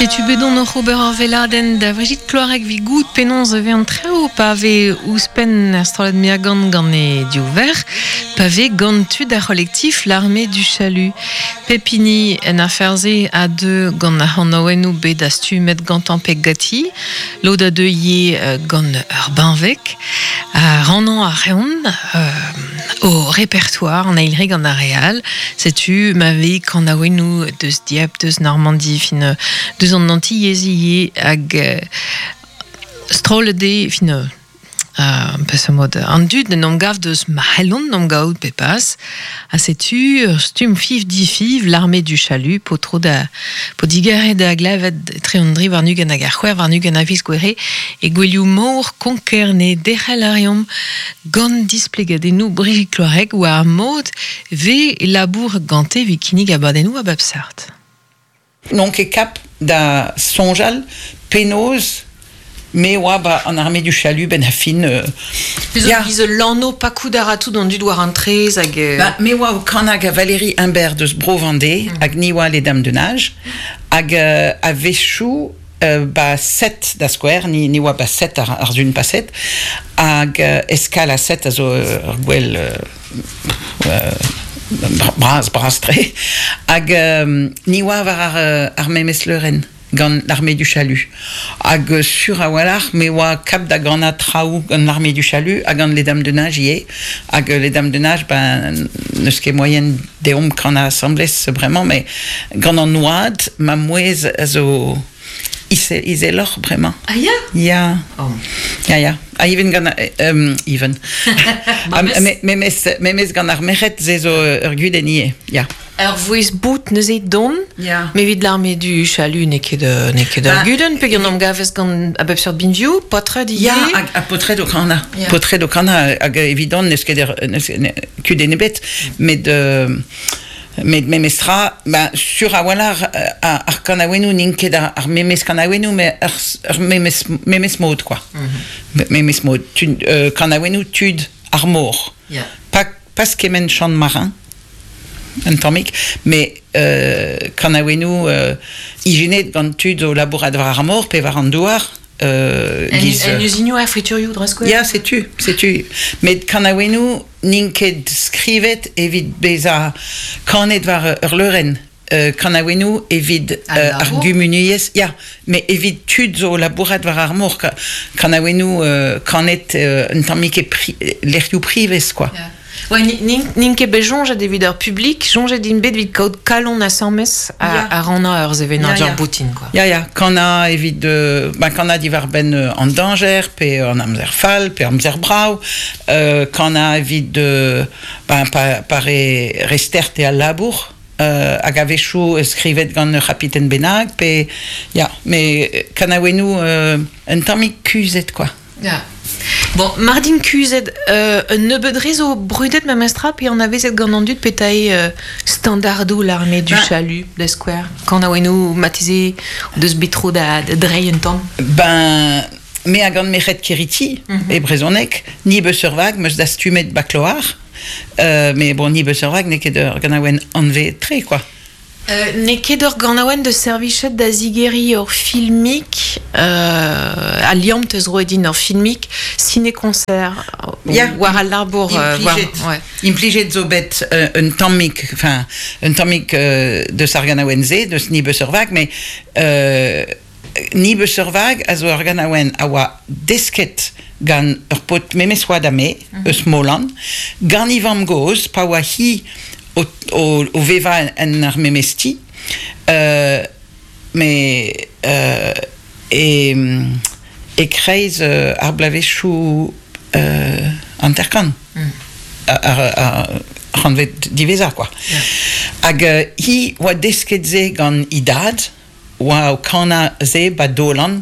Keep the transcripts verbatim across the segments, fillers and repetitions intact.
Setu bet on oc'h ober ar veladenn da Brigitte Kloareg vi gout penaos e vez an treo pa vez ouzhpenn ar strollad Meagan gant e div verc'h, pa vez gant tud ar c'holektif l'armée du chalut. Pepini en aferze a deux gant ar c'hanaouennoù bet astumet gantañ pe gati, lod a deux ivez euh, gant ur benveg, a rannañ ar reont euh, o répertoire an eil re gant ar real, setu ma vez kanaouennoù deus Dieppe, deus Normandie, fin deus an Antillez ivez hag euh, strollad eo fin euh, peseurt mod an dud en gav deus ma c'hellont n'om gaout pe pas ha setu ur stumm fiv difiv l'armée du chalut po tro da po digare da glavet tre an dri war nugen hag ar c'hwec'h war nugen a viz gouere e gwelioù mor Konkerne derc'hel a reomp gant displegadennoù Brigitte Kloareg war ar mod ve labour gante vi kinnig abadennoù a bep seurt. N'on ket kap da soñjal penaos me oa ba an armée du chalut ben a fin... Euh, ya. Giz lanno pakout a ra tout an dud war an trez hag... Euh... Ba, me oa o kanag a Valérie Humbert deus Bro-Vendée mm. hag ni oa les Dames de Nage hag euh, a vechou euh, ba set da skouer, ni, ni oa ba set ar, ar zun paset, hag euh, eskal a set a zo ur gwell... Euh, euh, bras, bras tre, hag euh, ni oa war ar, ar memes leurenn gant l'armée du chalut. Hag euh, sur a walc'h, me oa kap da gant traoù gant l'armée du chalut hag gant les Dames de Nage ivez. Hag les Dames de Nage, ben, n'eus ket moyen deomp kan asamblez bremañ, mais gant an oad, ma mouezh a zo ise, izeloc'h bremañ. Ah ya? Ya. Oh. Ya, ya. Ah, even gant... Um, even. Ah, me, memes, memes gant ar merc'hed ze zo ur gudenn ivez, ya. Ur vouezh bout neuze don, Ya. mais evit l'armée du chalut n'eo ket euh, n'eo ket ur Ba- gudenn, pe gant am gavez gant a bep seurt binvioù, potred ivez. Ya, hag a potred o kana. Ya. Potred o kana, hag evidon n'eus ket ur, n'eus ne- kudenn ebet, met... Euh, met memestra, ben, sur a walc'h ar, ar kanaouennoù n'int ket ar, ar memes kanaouennoù, mais ar, ar memes, memes mod, quoi. Mm -hmm. Memes mod. Tud, euh, kanaouennoù tud ar mor. Ya. Pas, pas kement chant marin, un tammig, mais euh, kanaouennoù euh, ijinet gant tud o labourat war ar mor pe war an douar. Euh, En, giz, en uzinioù ar friturioù dre skouer? Ya, setu, setu. Met kanaouennoù n'int ket skrivet evit bezañ kanet war ur leurenn. Euh, kanaouennoù evit Al euh, ar labour. gumuniezh, ya, mais evit tud zo labourat war ar mor, ka- kanaouennoù euh, kanet euh, un tammig e pri, lec'hioù privez, quoi. Ya. Ouais, n'int ket bet soñjet evit ur publik, soñjet int bet evit kaout kalon asambles a, Ya. a rannañ ur sevenadur Ya, ya. boutin, quoi. Ya, ya, kana evit euh, ben, kana diwar benn euh, an dañjer, pe an amzer fall, pe amzer brav, euh, kana evit euh, ben, pa, pa re, re stert e al labour, euh, hag a-wechoù skrivet gant ur c'hapiten bennak, pe, ya, mais kanaouennoù euh, un tammig kuzhet, quoi. Ya. Bon, Mardin kuzhet, euh, un nebeud re zo brudet memestra, pe an avezet gant an dud petae euh, standardoù l'armée du Ben- chalut, de Square. Kanaouennoù mateze deus bet tro da, da dreiñ un tamm. Ben, me a gant merc'hed Keriti, mm -hmm. e brezhoneg, ni beus ur vag, meus dastumet bakloar, euh, mais bon, ni beus ur vag n'eo ket ur ganaouenn anve tre, quoi. Euh, n'eo ket ur ganaouenn de servichet da zigeri ur filmik, euh, a liamm teus roet din ur filmik, ciné-concert, Ya. war al labour... euh, war, Implijet. ouais. Implijet zo bet euh, un tammig, enfin, un tammig euh, deus ar ganaouenn-se, deus ni beus ur vag, mais euh, ni beus ur vag a zo ur ganaouenn a oa desket gant ur paotr memes oad ha me, eus Molan, gant e vamm-gozh, pa oa hi o, o, o vevañ en ar memes ti, euh, mais euh, e, e kreiz euh, ar bloavezhioù euh, hanter-kant. Ar, ar, ar c'hantved diwezhañ, quoi. Hag euh, hi oa desket se gant e dad, oa o kanañ se ba Dolan,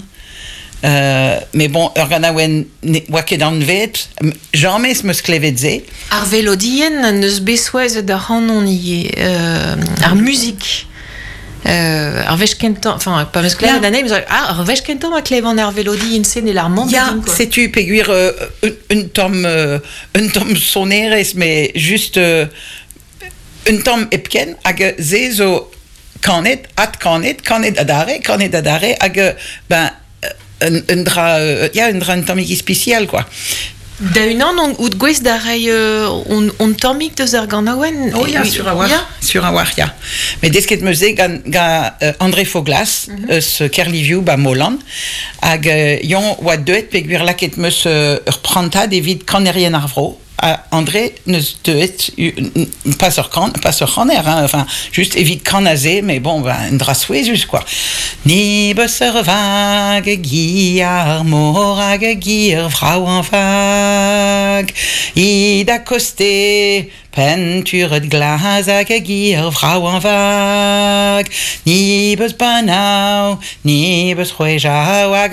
euh, mais bon, ur ganaouenn ne oa ket anvet, james 'm eus klevet se. Ar velodien neus bet souezhet ar c'hanon ivez, euh, ar muzik. Euh, ar wech kentañ, enfin, pa meus klevet Ya. anezhi, meus ah, ar wech kentañ ma klevan ar velodien se ne lar mamm Ya, din, quoi. setu peogwir euh, un, un tamm euh, un tamm sonerezh, mais juste euh, un tamm hepken, hag se zo kanet, adkanet, kanet adarre, kanet adarre, hag, euh, ben, un, un dra, euh, ya, un dra un tammig ispisial, quoi. Da unan on out gwez da rei euh, on, on tammig deus ar ganaouen. Oh ya, sur a war, Ya. sur a war, ya. Met desket 'meus se gant, gant euh, André Foglas, mm -hmm. eus Kerliviou ba Molan, hag euh, yon oa deuet peogwir laket 'meus euh, ur prantad evit kanerien ar vro. Ha André neus deuet u- n- pas ur kan, pas ur c'haner, hein, enfin, just evit kan aze, mais bon, ben, un dra souezhus, quoi. Ni beus ur vag, gi ar mor hag gi ur vrao an vag. I da koste, penturet glas hag gi ur vrao an vag. Ni beus banao, ni beus c'hwejao hag